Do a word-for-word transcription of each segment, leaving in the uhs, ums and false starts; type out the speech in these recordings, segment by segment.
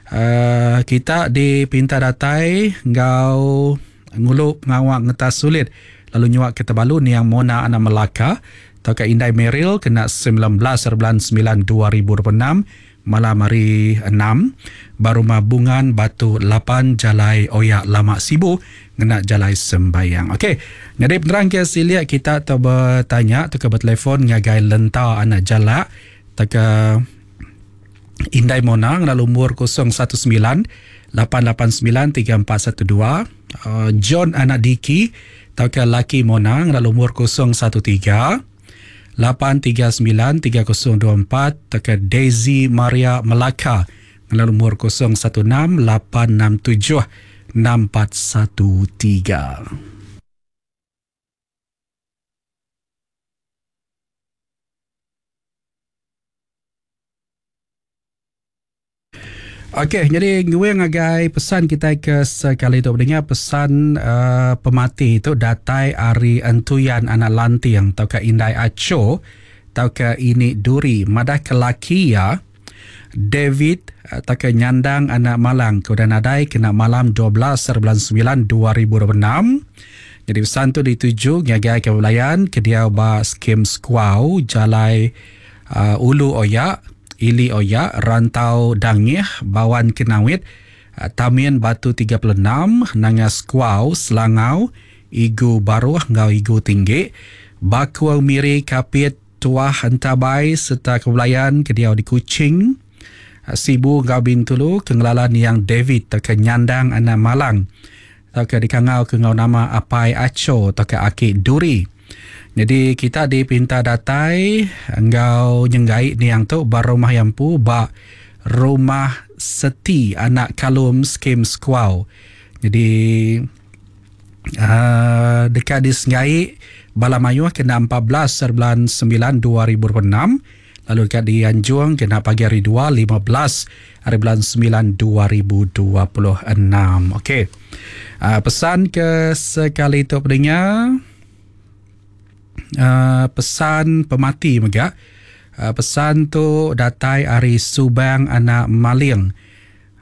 Uh, kita dipinta datai ngau ngulu pengawak ngetas sulit lalu nyuak ke tebalu niang Mona anak Melaka atau ke Indai Meril kena sembilan belas bulan sembilan dua ribu dua puluh enam malam hari enam ba rumah Bungan Batu lapan Jalai Oyak Lama Sibu ngena Jalai Sembayang. Okey, jadi penerang ke silia kita atau bertanya atau ke bertelefon ngagai Lenta anak Jalak atau ke Indai Mona ngena lumur kosong satu sembilan lapan lapan sembilan tiga empat satu dua, uh, John anak Diki atau ke Laki Mona ngena lumur kosong satu tiga lapan tiga sembilan tiga kosong dua empat atau ke Daisy Maria Melaka ngena lumur kosong satu enam lapan enam tujuh enam empat satu tiga. Okey, jadi gue ngagai pesan kita ke sekali tu pendengar pesan uh, pemati itu datai ari Entuyan anak Lanting atau ke Indai Aco atau ke Ini Duri madah ke laki ya David atau ke Nyandang anak Malang ke udah nadai kena malam dua belas bulan sembilan dua ribu dua puluh enam. Jadi pesan tu dituju ngagai ke belayan ke dia ba skim Squaw Jalai uh, Ulu Oyak Ili Oyak, Rantau Dangih, Bawan Kenawit, Tamin Batu tiga puluh enam, Nangas Kuau, Selangau, Igu Baruh ngau Igu Tinggi, Bakuang Miri, Kapit, Tuah Entabai serta kebelayan kediau di Kuching, Sibu ngau Bintulu, kengelalan yang David ke Nyandang anak Malang, ke dikangau ke ngau nama Apai Aco atau ke Aki Duri. Jadi kita dipinta datai engau nyenggai niang tu ba rumah yampu ba rumah Seti anak Kalum Skim Squaw. Jadi uh, dekat di Sengai Bala Mayuh kena empat belas bulan sembilan dua ribu dua puluh enam, lalu dekat di Anjung kena pagi hari dua lima belas hari bulan sembilan dua ribu dua puluh enam. Okey. Uh, pesan ke sekali tu pendengar. Uh, pesan pemati mega. Uh, pesan tu datai ari Subang anak Maling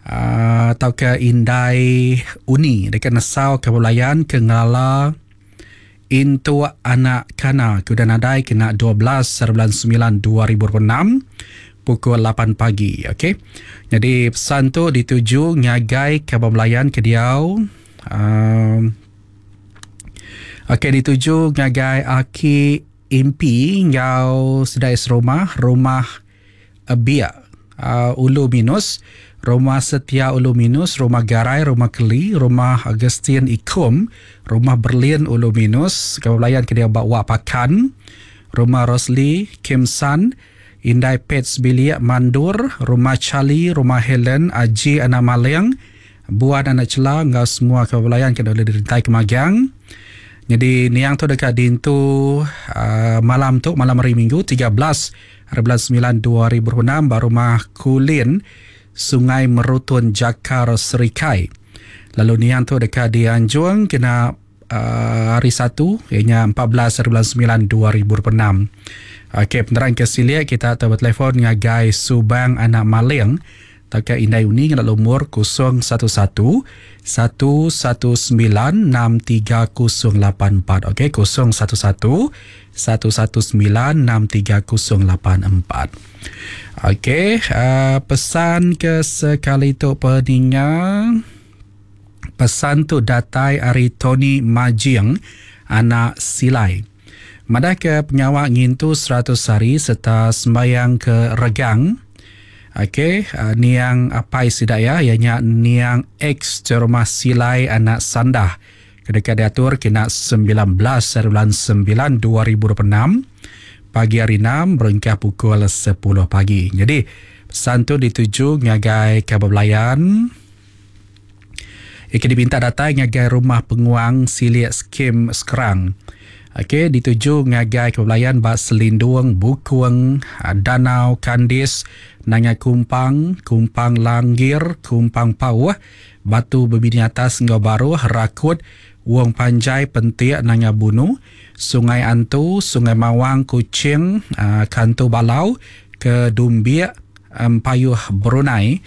uh, atau ke Indai Uni dekat Nesau ke Belayan ke Ngelala Intu anak Kana ke udah nadai kena dua belas bulan sembilan dua ribu dua puluh enam pukul lapan pagi. Okey. Jadi pesan tu dituju ngagai ke Belayan ke diau uh, okey, dituju ngagai Aki Impi ngau sedai serumah rumah Biak uh, Ulu Minus, rumah Setia Ulu Minus, rumah Garai, rumah Keli, rumah Augustine Ikum, rumah Berlin Ulu Minus, kebelayan ke dia Bak Pakan, rumah Rosli Kim San, Indai Pets Bilik Mandur, rumah Charlie, rumah Helen, Aji anak Maling, Buan anak Cela ngau semua kebelayan ke dia dirintai kemagang. Jadi niang tu dekat dintu uh, malam tu malam hari Minggu tiga belas hari bulan sembilan dua ribu dua puluh enam ba rumah Kulin Sungai Merutun Jakar Serikai. Lalu niang tu dekat di Anjung kena uh, hari Satu ianya empat belas hari bulan sembilan dua ribu dua puluh enam. Okey, penerang ke silia kita atau bertelefon ngagai Subang anak Maling Taka Indai Uni ngena lumur kosong satu satu satu satu sembilan enam tiga kosong lapan empat. Okey, kosong satu satu satu satu sembilan enam tiga kosong lapan empat. Okey, uh, pesan ke sekali tu peninga. Pesan tu datai ari Tony Majing anak Silai. Madah ke pengawak ngintu seratus hari serta sembayang ke Regang. Okey, uh, niang apai sidaya ianya niang ex rumah Silai anak Sandah. Kedekat diatur kena sembilan belas bulan sembilan dua ribu dua puluh enam pagi hari enam berengkah pukul sepuluh pagi. Jadi pesan tu dituju ngagai kabar belayan. Ia dipinta datang ngagai rumah penguang Silik Skim Sekerang. Okey, dituju ngagai kebelayan bak Selindung, Bukung, Danau Kandis, Nanga Kumpang, Kumpang Langgir, Kumpang Pauh, Batu Bebini Atas Ngau Baruh, Rakut, Wong Panjai, Pentik, Nanga Bunu, Sungai Antu, Sungai Mawang, Kuching, Kantu Balau, ke Dumbiak, Payuh Brunei.